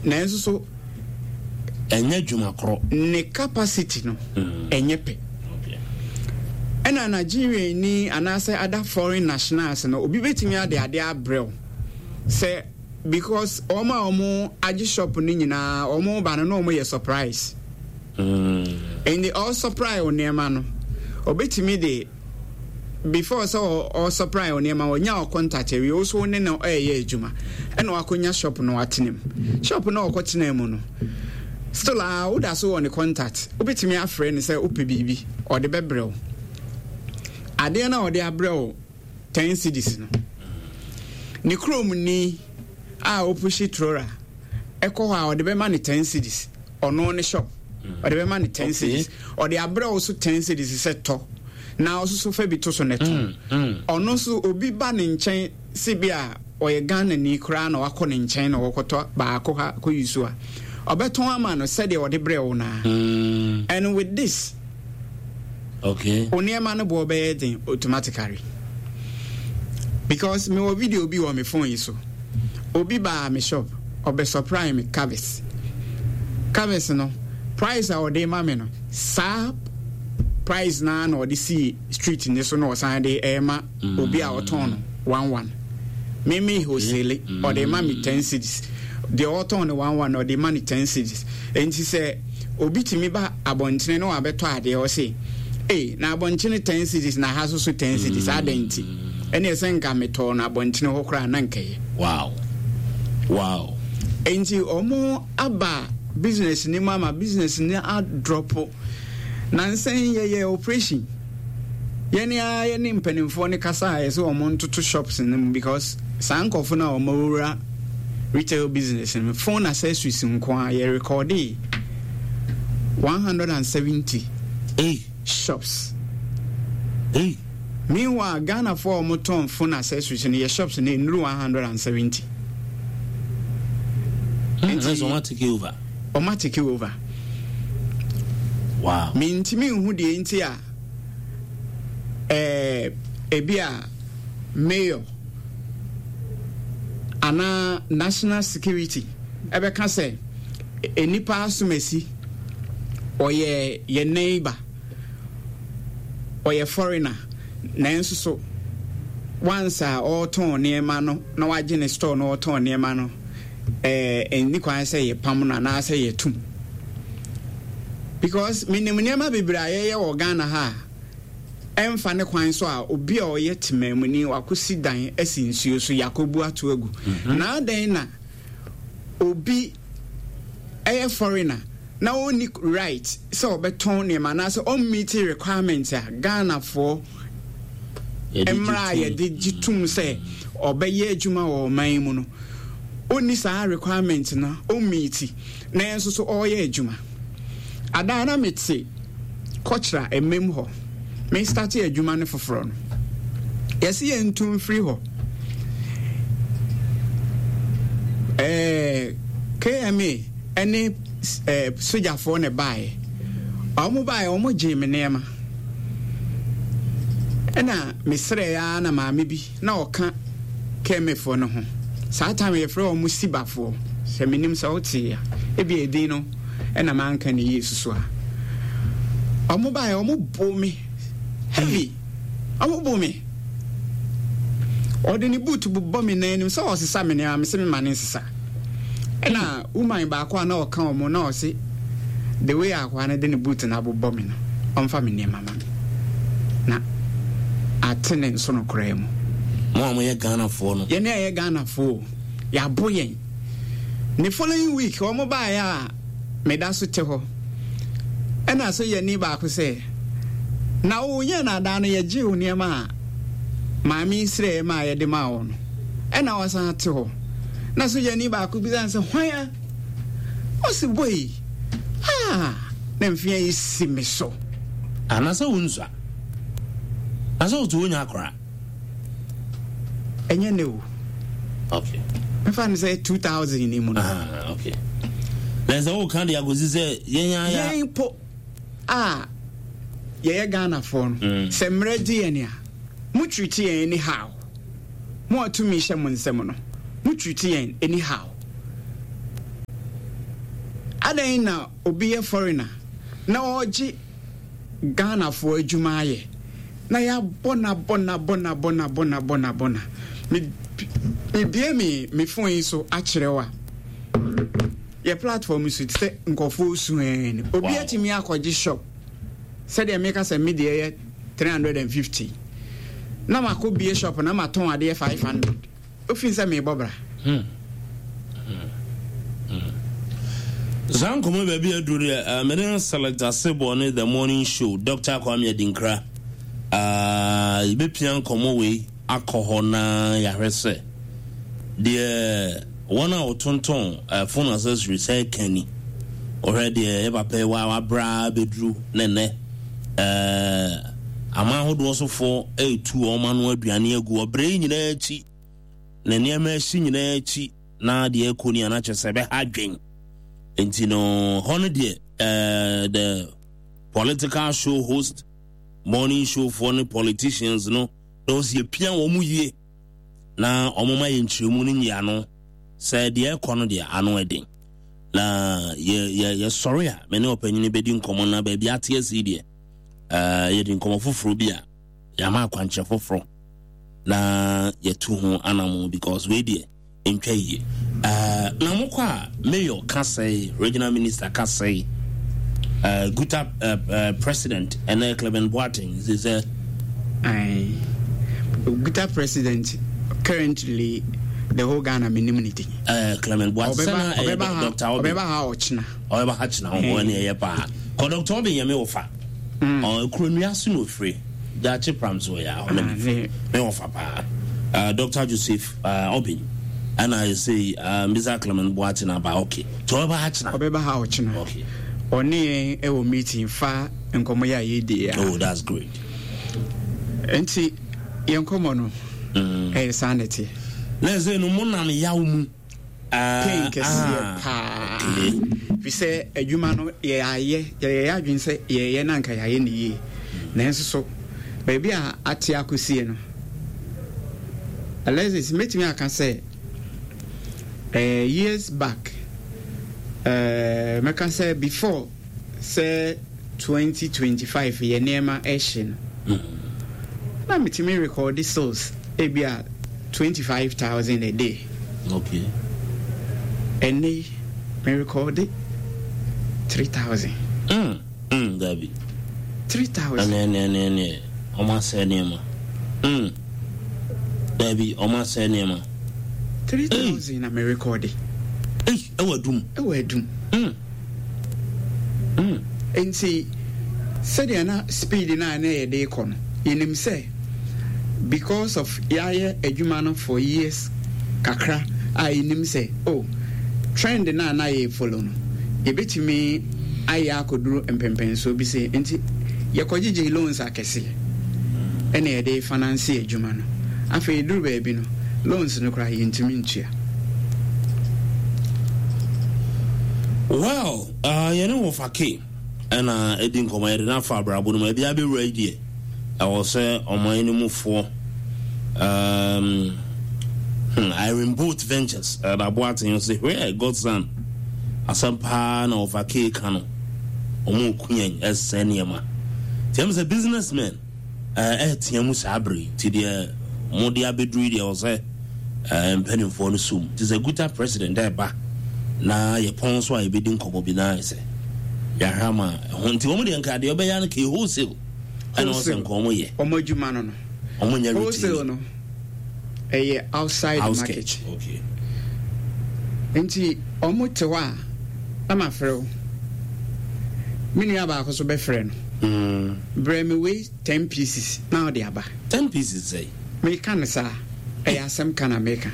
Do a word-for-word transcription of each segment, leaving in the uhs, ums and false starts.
Nanso so ɛnyɛ adwuma korɔ. Ne capacity no ɛnyɛ pɛ. Ɛna Nigerian ni anaasɛ other foreign nationals no, obi bɛtumi ade ade abrɛ wo sɛ because wɔn a wɔn agye shop no nyinaa, wɔn ba no na wɔn yɛ surprise. Ɛnti ɔsupply wo nneɛma no, ɔbɛtumi de before sɛ ɔsupply wo nneɛma, ɔnya wo contact awie, wo so ne no ɛyɛ adwuma, ɛna wakɔnya shop no atena mu. Shop no ɔkɔtena mu no, still a woda so wɔ ne contact, wobɛtumi afrɛ no sɛ wopɛ biribi, ɔde bɛbrɛ wo. Adeɛ no a ɔde abrɛ wo ten cedis no, ne kurom ni a ɔpush trora ɛkɔ hɔ a, ɔde bɛma ne ten cedis. Ɔno ne shop, ɔde bɛma ne ten cedis. Ɔde abrɛ wo so ten cedis sɛ tɔ na ɔsoso fa bi to so ne tɔn. Ɔno nso obi ba ne nkyɛn si bi a ɔyɛ Ghana ni koraa na wakɔ ne nkyɛn na wɔkɔtɔ baako ha kɔ yi so a, ɔbɛtɔn ama no sɛdeɛ ɔde brɛ wo naa. And with this, okay o nneɛma no boɔ bɛyɛ den automatically, because mewɔ video bi wɔ me phone yi so. Obi baa me shop, ɔbɛ supply me covers. Covers no, price a ɔde ma me no, saa price naa na ɔde si street ne so na ɔsan de ɛma obi a ɔtɔn no one one. Me me wholesale, ɔde ma me ten cedis. Deɛ ɔtɔn no one one, ɔde ma no ten cedis. Nti sɛ obi tumi ba abɔntene na wabɛtɔ adeɛ, ɔse ee, na abɔntene ten cedis na ha so so ten cedis, adɛn nti? Ɛne ɛsɛ nka metɔɔ no abɔntene hɔ koraa na nkɛyɛ. wow wow Nti ɔmo aba business ni mu ama business ni adrop. Nansɛn yɛyɛ operation, yɛne a yɛne mpanimfoɔ ne kasa a yɛsɛ ɔmo ntoto shops no mu, because saa nkɔfo no a ɔmo awura retail business no, phone accessories nko a yɛ record one hundred and seventy hey. shops. Hey. Meanwhile, Ghanafoɔ a wɔtɔn phone accessories no, yɛ shops no nnuru one hundred and seventy. Nti ɔmo take over. Ɔmo take over. Wow mentumi nhu deɛ nti a ɛɛ ebi a mayor anaa national security ɛbɛka sɛ nipa asomasi ɔyɛ yɛ neighbor, ɔyɛ foreigner, nanso so once a ɔretɔn nneɛma no na wagye ne store na ɔretɔn nneɛma no, ɛɛ ɛnni kwan sɛ yɛpam no anaasɛ yɛtum, because menim nneɛma bebree a yɛyɛ wɔ Ghana ha a ɛmfa ne kwan so a obi a ɔyɛ temamuni wakɔsi dan asi nsuo so, yɛakɔbu ato agu. Na adɛn na obi ɛyɛ foreigner na ɔnni right sɛ ɔbɛtɔn nneɛma anaasɛ ɔmmeet requirement a Ghanafoɔ mmerɛ a yɛde gye tom sɛ ɔbɛyɛ adwuma wɔ ɔman yi mu no, ɔnni saa requirement no, ɔmmeet, nanso so ɔreyɛ adwuma? Adaa na mete kɔkyerɛ mmam hɔ, me start adwuma no foforɔ no, yɛsi yɛn ntu mfiri hɔ. ɛɛ K M A ɛne ɛɛ sogyafoɔ na baeɛ. Wɔn baeɛ, wɔn gyee me nneɛma, ɛna mesrɛ ya na maame bi na ɔka K M A foɔ no ho. Saa time yɛfrɛ wɔn sibafoɔ, sɛ menim sɛ wote a, ebi edin no ɛna manka ne yie soso a. Wɔn baeɛ, wɔn bo me heavy, wɔn bo me, ɔde ne boot bobɔ me nan anim sɛ ɔsesa me nneɛma. Me sɛ me ma ne nsesa. Ɛna woman baako a na ɔka wɔn na ɔse the way akoa no de ne boot no abobɔ me no, ɔmfa me nneɛma ma me na ate ne nso no koraa mu. Mo a moyɛ Ghanafoɔ no. Yɛne a yɛ Ghanafoɔ, yɛabo yɛn. Ne following week wɔn baeɛ a meda so te hɔ, ɛna so yɛni baako sɛ na wonyɛ naadaa no, yɛgye wo nneɛma a maame srɛ ma a yɛde maa wo no, ɛna wasan te hɔ. Na so yɛni baako bi sɛ hwan a ɔsi boy ah, na mfea yi si me so. Anaasɛ wo nsua na sɛ wote wonya akora. Ɛnyɛ ne o. Okay mɛfa no sɛ two thousand ni mu no. Ah, okay, na sɛ woka de akɔsi sɛ yɛn aya. Yɛn po a yɛyɛ Ghanafoɔ no, Mm. sɛ mmerɛ gye yɛn a, mo treat yɛn anyhow. Mo a tumi hyɛ mo nsɛm no, mo treat yɛn anyhow. Adɛn na obi yɛ foreigner na ɔregye Ghanafoɔ adwuma ayɛ na yɛabɔ na bɔ na bɔ na bɔ na bɔ na bɔ na bɔ na me mebie me me phone yi so akyerɛ wo a, yɛ platform so te sɛ nkɔfoɔ su ɛn no, obi Wow. atumi akɔgye shop sɛdeɛ meka sɛ me deɛ yɛ three hundred and fifty na makɔ bie shop na matɔn adeɛ five hundred, ofin sɛ meebɔ bra. Hmm. Saa nkɔmmɔ baabi aduru deɛ, uh, mene Select Asebɔ ne The Morning Show, Doctor Kwame Adinkra. uh, yɛbɛpia nkɔmmɔ wei akɔ hɔ na yɛahwɛ sɛ deɛ wɔn a wɔtontɔn uh, phone accessories sɛ ɛka ni. Ɔhwɛ deɛ yɛ papa yi wa wabra bɛduru ne nnɛ uh, aman ahodoɔ sofoɔ ɛretu wɔn ano aduane agu ɔbrɛ yi nyinaa akyi na nneɛma ahyi nyinaa akyi na deɛ ɛkɔ ni anakyɛ sɛ ɛbɛha adwen. Nti no hɔ no deɛ, uh, the political show host, morning show foɔ ne politicians no na ɔsi epia wɔn mu yie na wɔn ma yɛ nkyerɛmu no nyia no sɛ deɛ ɛkɔ no deɛ ano ɛden na yɛ yɛ yɛsɔre a me ne ɔpanyin bɛdi nkɔmɔ na baabi ate asi deɛ, ɛɛ yɛde nkɔmɔ foforɔ bi a yɛama akwankyerɛ foforɔ na yɛtu ho anamo, because wei deɛ ntwa yie. ɛɛ na mokɔ a, mayor ka sɛe, regional minister ka sɛe, ɛɛ GUTA ɛɛ ɛɛ president ɛnɛ Clement Boateng sɛ sɛ Aye. GUTA president currently, the whole Ghana menim ne din. ɛɛ Clement Boateng Ɔbɛba sɛ na ɛyɛ ɔbɛba ha. Doctor Obi. Ɔbɛba ha ɔkyena. Ɔbɛba ha kyena ho ɛne ɛyɛ paa kɔ Doctor Obi yɛ me wɔfa. Ɔ kuro nnua so na ofiri gyaakye pram so yɛ hɔ na Ah, me firi ne- me wɔfa paa, uh, Doctor Joseph uh, Obin ɛna yɛsɛ uh, Mister Clement Boateng aba. Okay, nti ɔbɛba ha kyena. Ɔbɛba ha ɔkyena. Okay. Ɔne yɛn ɛwɔ meeting fa nkɔmmɔ yɛ a yɛdi a. Oh, that's great. Nti yɛn nkɔmmɔ no mm. ɛyɛ saa na ɛteɛ. Na ɛsɛ no mo nam yaw mu. Pain kɛseɛ ah, paa okay. Fi sɛ adwuma no yɛayɛ, yɛyɛ adwene sɛ yɛyɛ na anka yɛayɛ ne yie, nanso so baabi a ate akɔsie no, Alexis, mɛtumi aka sɛ eh, years back, eh, mɛka sɛ before sɛ twenty twenty-five yɛ nneɛma ɛhye no, na metumi record sales ebi a twenty-five thousand a day. Okay ɛnɛ yi me record three thousand. mm, mm, dabi. three thousand. ɛne ɛne ɛne ɛne ɔmo asɛ nneɛma. mm. dabi, ɔmo asɛ nneɛma. three thousand na me record. Ei, ɛwɔ Adum? Ɛwɔ Adum. mm. Mm. Nti sɛdeɛ na speed no a na yɛde kɔ no, yɛnim sɛ because of yɛayɛ adwuma no for years kakra a, yɛnim sɛ oh, trend no a na yɛ follow no, yɛbɛtumi ayɛ akɔduru mpɛmpɛnsoɔ bi sɛ nti yɛkɔgyegye loans akɛseɛ ɛna yɛde finance adwuma no. Afei duru baabi no, loans no koraa yɛntumi ntua. Well, uh, yɛne wɔfa ke ɛna ɛdi nkɔmmɔ, yɛde no afa abrabɔ no mu ɛbi abɛwura yi deɛ ɛwɔ sɛ ɔman no mufoɔ um, hmm, Irene Boat Ventures ɛda Boaten sɛ hwɛ Godson asɛm paa na wɔfa ke ka no, ɔmo ku yɛn ɛsɛ nneɛma nti ɛm sɛ businessmen ɛɛtea mu saa bere yi. Nti deɛ mode abɛduru yi deɛ, ɛwɔ sɛ ɛɛ, mpanimfoɔ no som nti sɛ GUTA president ɛɛba na yɛpɔn so a, yɛbɛdi nkɔmmɔ bi na ayɛ sɛ yɛahwɛ ama ɛho. Nti wɔn deɛ nka deɛ ɔbɛyɛ no kɛ wholesale ɛna ɔsɛ nka wɔn yɛ. Ɔmo adwuma no no Wɔn nyɛ wholesale retail. No ɛyɛ outside Outskirt. market. Okay nti ɔmo te hɔ a, na mafrɛ wo, me nua baako so bɛfrɛ no, mm. brɛ me wei ten pieces na ɔde aba. Ten pieces sɛ? Meka no saa, ɛyɛ asɛm ka na meka.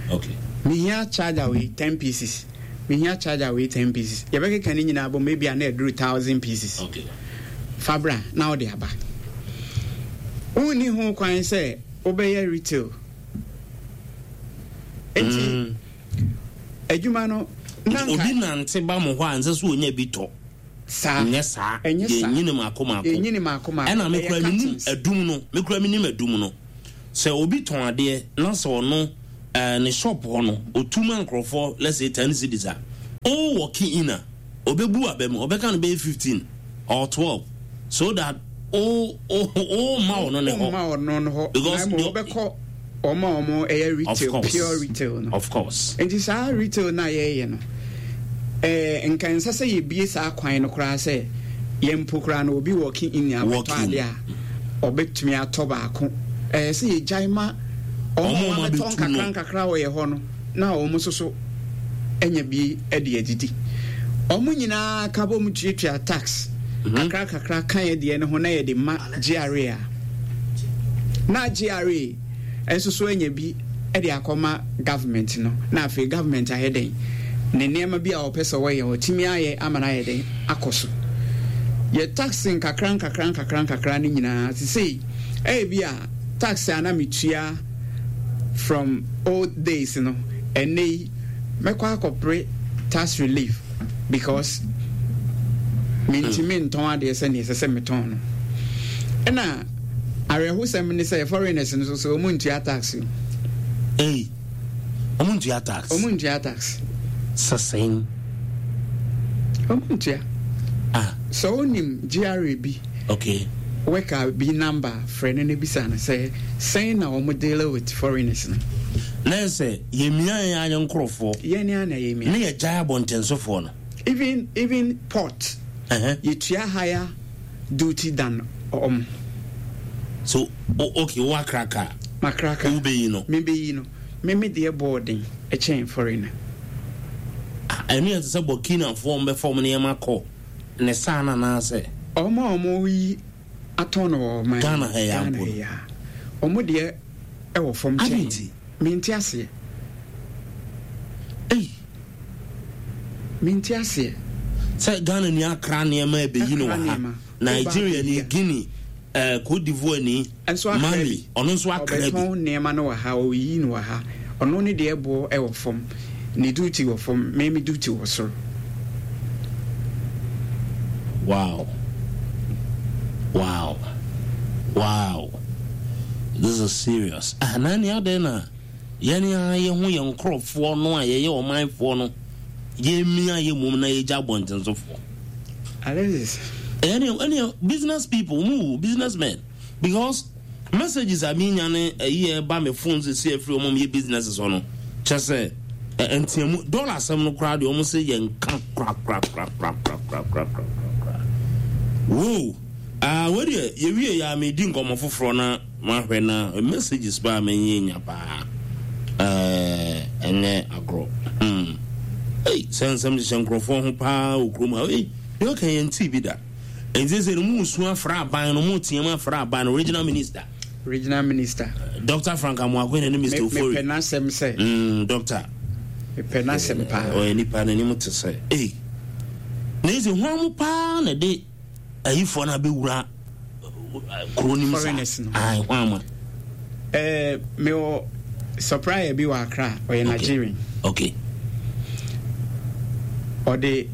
Okay mehia charger wei ten pieces, mehia charger wei ten pieces, yɛbɛkeka ne nyinaa bɔ maybe a na ɛduru thousand pieces. Okay fa bra na wode aba. Wonni ho kwan sɛ wobɛyɛ retail nti Mm. adwuma no na nka Obi nante ba mo hɔ a, nsɛ sɛ onya bi tɔ. Saa. Nyɛ saa. Ɛnyɛ saa. Yɛnyini maako maako. Yɛnyini maako maako. Ɛna mekura Ɛyɛ menim cartons. Adum no, mekura menim Adum no sɛ obi tɔn adeɛ na sɛ ɔno ɛɛ ne shop hɔ no otu ma nkurɔfoɔ, let's say ten cedis a, ɔwɔ key in a Obebu abɛ mu, ɔbɛka no bɛyɛ fifteen or twelve so that o o o ma ɔno ne hɔ. Ma ɔno ne hɔ. Because na ɔbɛkɔ ɔmo a ɔmo ɛyɛ retail, pure retail no. Of course. Nti saa retail na yɛyɛ no, ɛɛ nka nsa sɛ yɛbie saa kwan no koraa sɛ yɛn mpo koraa no obi walking in abɛtɔ ade a ɔbɛtumi atɔ baako. Ɛɛ sɛ yɛgyae ma ɔmo a wɔabɛtɔ nkakra nkakra wɔ yɛ hɔ no na ɔmo nso so anya bi de adidi. Ɔmo nyinaa ka bɔ mu tuatua tax kakra kakra ka yɛ deɛ no ho na yɛde ma G R A a na G R A nso so anya bi de akɔma government no, na afei government ayɛ dɛn ne nneɛma bi a ɔpɛ sɛ ɔyɛ, ɔtumi ayɛ ama no ayɛ dɛn akɔ so. Yɛ tax nkakra nkakra nkakra nkakra no nyinaa sesei ɛyɛ bi a tax a na metua from old days no, ɛnɛ yi mɛkɔ akɔpere tax relief because mentumi ntɔn adeɛ sɛneɛ ɛsɛ sɛ metɔn no. Ɛna awerɛhosɛm ne sɛ foreigners no so so ɔmu ntua tax o. Ei, ɔmo ntua tax? Ɔmu ntua tax. Sɛsɛn? Ɔmu ntua. Ah. Sɛ wonim G R A bi okay worker bi number, frɛ no no bisa no sɛ sɛn na ɔmo deal with foreigners no. Na sɛ yɛmia yɛn ayɛ nkorɔfoɔ yɛne ana yɛmia. Ne yɛgyae abɔntensofoɔ no. even even port, Ɛhɛ. yɛtua higher duty than ɔmo. So o, okay, wo akra kaa makraka wobɛyi no. Mebɛyi no, me me deɛ bɔɔden ɛkyɛn foreigner. Ah, ɛno yɛ te sɛ Burkinafoɔ mbɛfa ɔmo nneɛma kɔ ne saa no anaasɛ? Ɔmo a ɔmo yi atɔn no wɔ ɔman Ghana ha yi Ghana ampo no. ha yi a ɔmo deɛ ɛwɔ fam Ade kyɛn. nti? Mente aseɛ. Ei. Mente aseɛ. Sɛ Ghana ni akra nneɛma ɛbɛyi no Akra wɔ ha nneɛma. Nigeria ni Woba Guinea, eh, Cote d'Ivoire ni nso akra Mali bi. Ɔno nso akra bi. Ɔbɛtɔn nneɛma no wɔ ha, ɔyi no wɔ ha, ɔno ne deɛ boɔ ɛwɔ fam, ne duty wɔ fam, me me duty wɔ soro. wow wow wow this is serious. Ah, na nea adɛn na yɛne a yɛho yɛn nkorɔfoɔ no a yɛyɛ ɔmanfoɔ no yɛmia yɛ mom na yɛgya abɔntensofoɔ? Alexis. ɛne ɛne business people mu, businessmen, because messages a menya ne ɛyi ɛba me phone sisi afiri ɔmo yɛ businesses hɔ no kyɛ sɛ ɛ ntiamu dollar asɛm no koraa deɛ, ɔmo sɛ yɛn nka kora kora kora kora kora kora kora kora kora. Wo ah, wei deɛ yɛwie yɛ a medi nkɔmmɔ foforɔ na mahwɛ na messages paa menyɛ nya paa. ɛɛ ɛnyɛ agorɔ. hmm ei, sɛ nsɛm hyehyɛ nkurɔfoɔ ho paa wɔ kurom ha. Ei, deɛ ɔka yɛn tii bi da. Nti sɛ no mu su afra aban no mu teɛ mu afra aban no regional minister. Regional minister. Doctor Frank Amoakohene ne Mister Ofori. Mepɛ n'asɛm sɛ mm, doctor. Mepɛ n'asɛm paa. Ɔyɛ nipa n'anim te sɛ ei na ɛsɛ hwan mu paa na de ayifoɔ no abɛwura kuro nim saa. Foreigners no. Ai, hwan mu? ɛɛ mewɔ supplier bi wɔ Accra, ɔyɛ Nigerian. Okay ɔde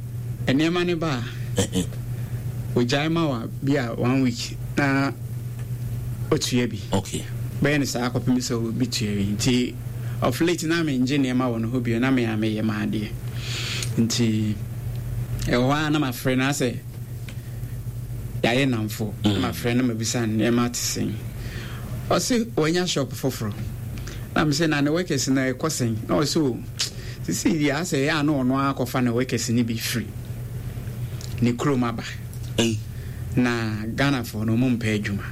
nneɛma ne ba a ogyae ma wa bi a one week na otua bi. Okay bɛyɛ no saa akɔpem sɛ obi tua bi. Nti of late na mengye nneɛma wɔ no hɔ bio na me a meyɛ maadeɛ, nti ɛwɔ hɔ a na mafrɛ no asɛ yɛayɛ namfo na mafrɛ no mabisa nneɛma te sɛn. Ɔse wanya shop foforɔ na mesɛ na ne workers no ɛkɔ sɛn? Na ɔse o, sisi deɛ asɛ ɛyɛ a na ɔno akɔfa ne workers no bi firi ne kurom aba. Ei. Na Ghanafoɔ no ɔmo mpɛ adwuma.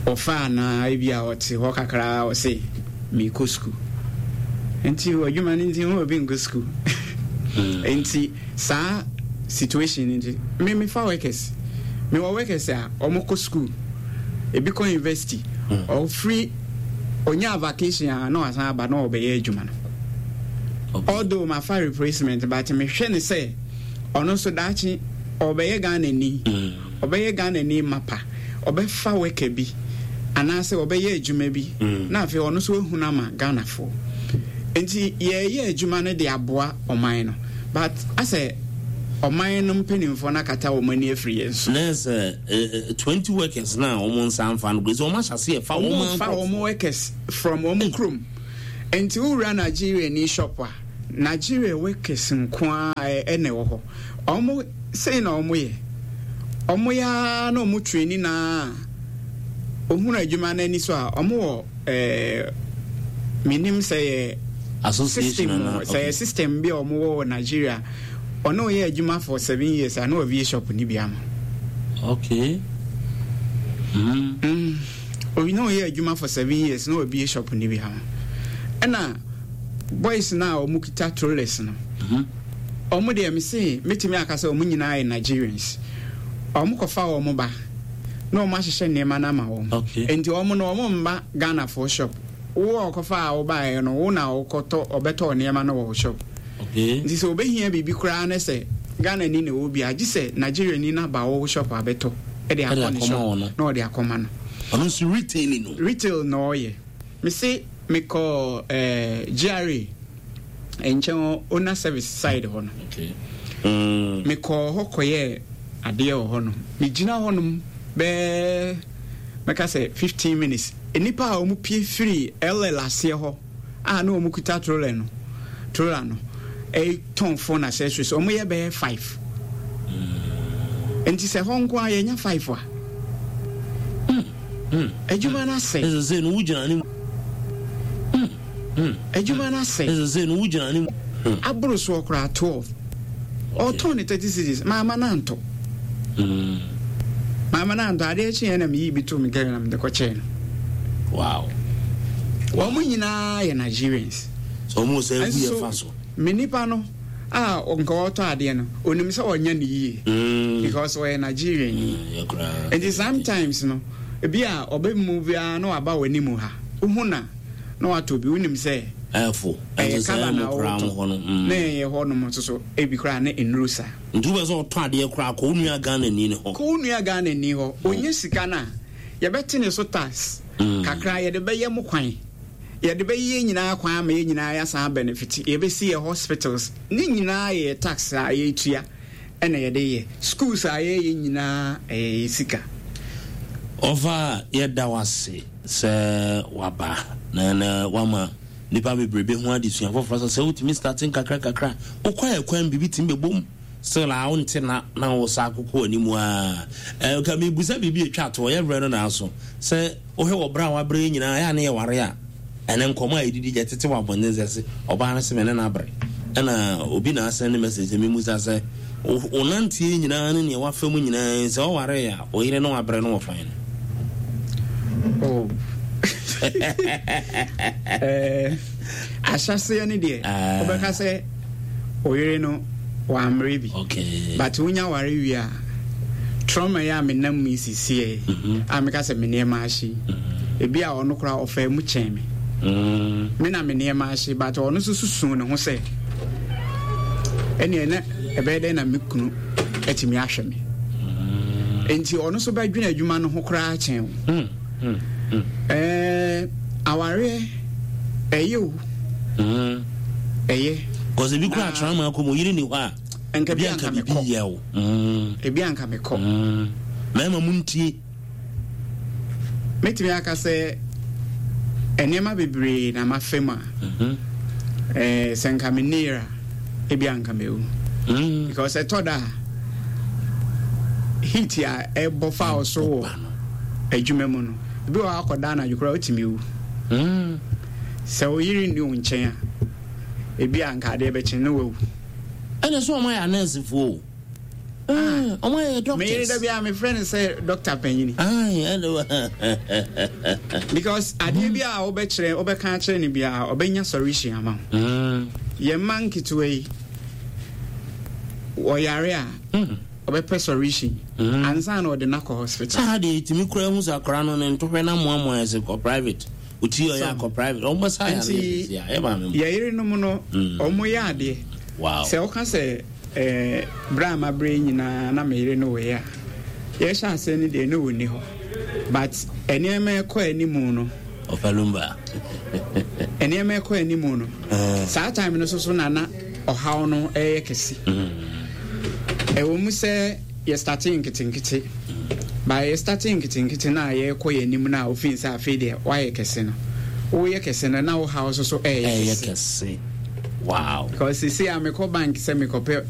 Ɔfaa na ebi a ɔte hɔ kakra, ɔse meekɔ sukuu, nti adwuma no nti ho obi nkɔ sukuu. Nti saa situation no nti me mefa workers, mewɔ workers a ɔmo kɔ sukuu, ebi kɔ university, ɔfiri onya vacation a na wasan aba na ɔbɛyɛ adwuma no. Okay. Although mafa replacement, but mehwɛ ne sɛ ɔno nso daakye ɔbɛyɛ Ghana ni, ɔbɛyɛ Ghana ni mapa, ɔbɛfa worker bi anaasɛ ɔbɛyɛ adwuma bi na afei ɔno nso ehunu ama Ghanafoɔ. Nti yɛyɛ adwuma no de aboa ɔman no, but asɛ ɔman no mpanimfoɔ no akata wɔn ani afiri yɛn so. Na sɛ eh, twenty workers na wɔn nsa nfa no sɛ wɔn ahyɛ ase yɛ fa wɔn wɔn fa wɔn workers from wɔn kurom. Nti wowura Nigeria ni shop a Nigeria workers nko ara ɛna ɛwɔ hɔ. Ɔmo sei na ɔmo yɛ. Ɔmo yɛ ara na ɔmo training na ohunu adwuma no ani so a, ɔmo wɔ ɛɛ menim sɛ yɛ association system anaa? Sɛ yɛ system bi a ɔmo wɔ wɔ Nigeria. Ɔno ɔyɛ adwuma for seven years a, na wabie shop ni bi ama. Okay mm. Mm. Obi na ɔyɛ adwuma for seven years na wabie shop ni bi ama. Ɛna boys na a ɔmo kita trollers no, Mhm. ɔmo deɛ, me se metumi aka sɛ ɔmo nyinaa yɛ Nigerians. Ɔmo kɔfa wɔn ba na ɔmo ahyehyɛ nneɛma no ama wɔn. Okay. Nti ɔmo no, ɔmo mba Ghanafoɔ shop. Wo a ɔkɔfa a wobaeɛ no, wo na wokɔtɔ, ɔbɛtɔ nneɛma no wɔ wo shop. Okay nti sɛ obɛhia biribi koraa ne sɛ Ghana ni na ɛwɔ bi a, gye sɛ Nigeria ni no aba wo shop abɛtɔ ɛde akɔ ne akɔma shop wɔn no. Na ɔde akɔma no. Ɔno nso retailing no. Retail na ɔyɛ. Mese mekɔ eh, G R A nkyɛn hɔ, owner service side hɔ no. okay mm. Mekɔɔ hɔ kɔyɛɛ adeɛ wɔ hɔ no, megyina hɔnom bɛɛ mɛka sɛ fifteen minutes. Nnipa a wɔn pie firi L L aseɛ hɔ a na wɔn kuta troller no troller no ɛtɔn phone accessories, wɔn yɛ bɛyɛ five. Nti sɛ hɔ nko a yɛnya five a, adwuma no asɛ. Ɛsɛ sɛ no wogyina ne Adwuma no asɛ. Ɛsɛ sɛ no wogyina ne aboro soɔ koraa twelve, ɔtɔn ne thirty cedis, maama no antɔ. mm. Maama no antɔ. Adeɛ kyeɛ na meyi bi to me gari na mede kɔkyɛɛ no. Wow wɔn nyinaa yɛ Nigerians. Sɛ ɔmo sɛ agu yɛ fa so. Me nipa no a nka ɔtɔ adeɛ no, onim sɛ ɔnyɛ ne yie Mm. because ɔyɛ Nigerian ni. Mm, yɛ koraa. Nti sometimes no, ebi a ɔbɛ mu biara na waba wɔ anim ha, wohu na na watɔ bi, wonim sɛ ɛfo ɛyɛ ɛnso sɛ kala na ɛmo koraa mo hɔ no wɔtɔ mm. na ɛyɛ hɔ nom nso so, ebi koraa ne nnuro saa. Nti wobɛ sɛ ɔtɔ adeɛ koraa, kɔ wo nua Ghana ni ne hɔ. Kɔ wo nua Ghana ni hɔ, onye sika no a yɛbɛte ne so tax Mm. kakra, yɛde bɛyɛ mo kwan, yɛde bɛyɛ yɛn nyinaa kwan ama yɛn nyinaa yɛasan benefit, yɛbɛsi yɛ hospitals ne nyinaa yɛ tax a yɛtua ɛna yɛde yɛ schools a yɛyɛ nyinaa, ɛyɛ yɛ sika. Ɔfa, yɛda wo ase sɛ waba na na wama nipa bebrebe ho adesua foforɔ sɛ sɛ wotumi starting kakra kakra, wokɔ ɛkwan biribi tumi bɛbom still a wonte na na wo sa akokɔ anim a. Eh, ka mebusa biribi atwa to ɔyɛ berɛ no naaso sɛ wohwɛ wɔ berɛ a wabrɛ nyinaa ɛyɛ a ne yɛware a, ɛnɛ nkɔmmɔ a yɛdidi gya tete wɔ abɔnten sɛ se ɔbaa no sɛ me ne no abrɛ, ɛna obi na asɛn ne message sɛ memusa sɛ wo wo nanteɛ nyinaa ne neɛ wafa mu nyinaa, sɛ ɔware a, wo yere ne wabrɛ no wɔ fan no? Oh. Eh, ahyɛseɛ no deɛ, Ah. wobɛka sɛ oyere no wammere bi. Okay but wonya ware wie a, trauma yi a menam mu yi sisiɛ Mhm. a meka sɛ me nneɛma ahye yi, ebi a ɔno koraa ɔfaa mu kyɛn me. Mm. Me na me nneɛma ahye, but ɔno nso susu ne ho sɛ ɛneɛ na ɛbɛyɛ dɛn na me kunu atumi ahwɛ me, nti ɔno nso bɛdwene adwuma no ho koraa kyɛn wo. Mm. Mm. Mm. Ɛɛ, awareɛ ɛyɛ o. Mm. Ɛyɛ. Cause ebi kura atena mu akɔ mu, oyere ni hɔ a, nka ebi bi anka anka bibi mekɔ yɛ o. Mm. Ebi anka mekɔ. Mm. Mmarima mu ntie. Mɛtumi aka sɛ nneɛma bebree na mafa mu a, Mhm. ɛɛ, sɛ nka me nneera, ebi anka mewu. Mm. Because ɛtɔ da a, heat a ɛbɔ fa wo so wɔ adwuma mu no, ebi wɔ hɔ akɔda anadwo koraa wotumi wu. Mm. Sɛ wo yere nni wo nkyɛn a, ebi a nka adeɛ bɛkye ne wawu. Ɛna sɛ ɔmo ayɛ anɛɛsefoɔ o. Ah, ɔmo ayɛ Me yere da doctors. bi a mefrɛ no sɛ doctor panyini. Ayi, ɛna Because adeɛ bi a wobɛkyerɛ, wobɛka akyerɛ no biara, ɔbɛnya solution ama wo. Mm. Yɛn mma nketewa yi, wɔyare a, Mm. ɔbɛpɛ solution Mm. ansa na ɔde no akɔ hospital. Saa deɛ, ɛtumi kura hu sɛ akwaraa no ne ntohwɛ no amoamoa, yɛ sɛ kɔ private, ɔti ɔyɛ So, akɔ private, ɔmo bɛsa yare. Nti a ɛyɛ maame mu. Yɛ yerenom no, Mm. ɔmo yɛ adeɛ. Wow sɛ woka sɛ eh, berɛ a maberɛ nyinaa na meyere no wɔ a yɛhyɛ aseɛ no deɛ, ne wɔnni hɔ, but nneɛma ɛkɔ animu no, ɔfa lumba. Nneɛma ɛkɔ animu no, saa time no so so na na ɔhaw no ɛyɛ kɛse. Ɛwɔ mu sɛ yɛ start nketenkete, ba yɛ start nketenkete no a, yɛrekɔ yɛn anim no a, ofin sɛ afei deɛ woayɛ kɛse no, woyɛ kɛse no na wo haw so so ɛyɛ ɛyɛ kɛse. Kɛse. Wow. Because sisi a mekɔ bank sɛ mekɔpɛ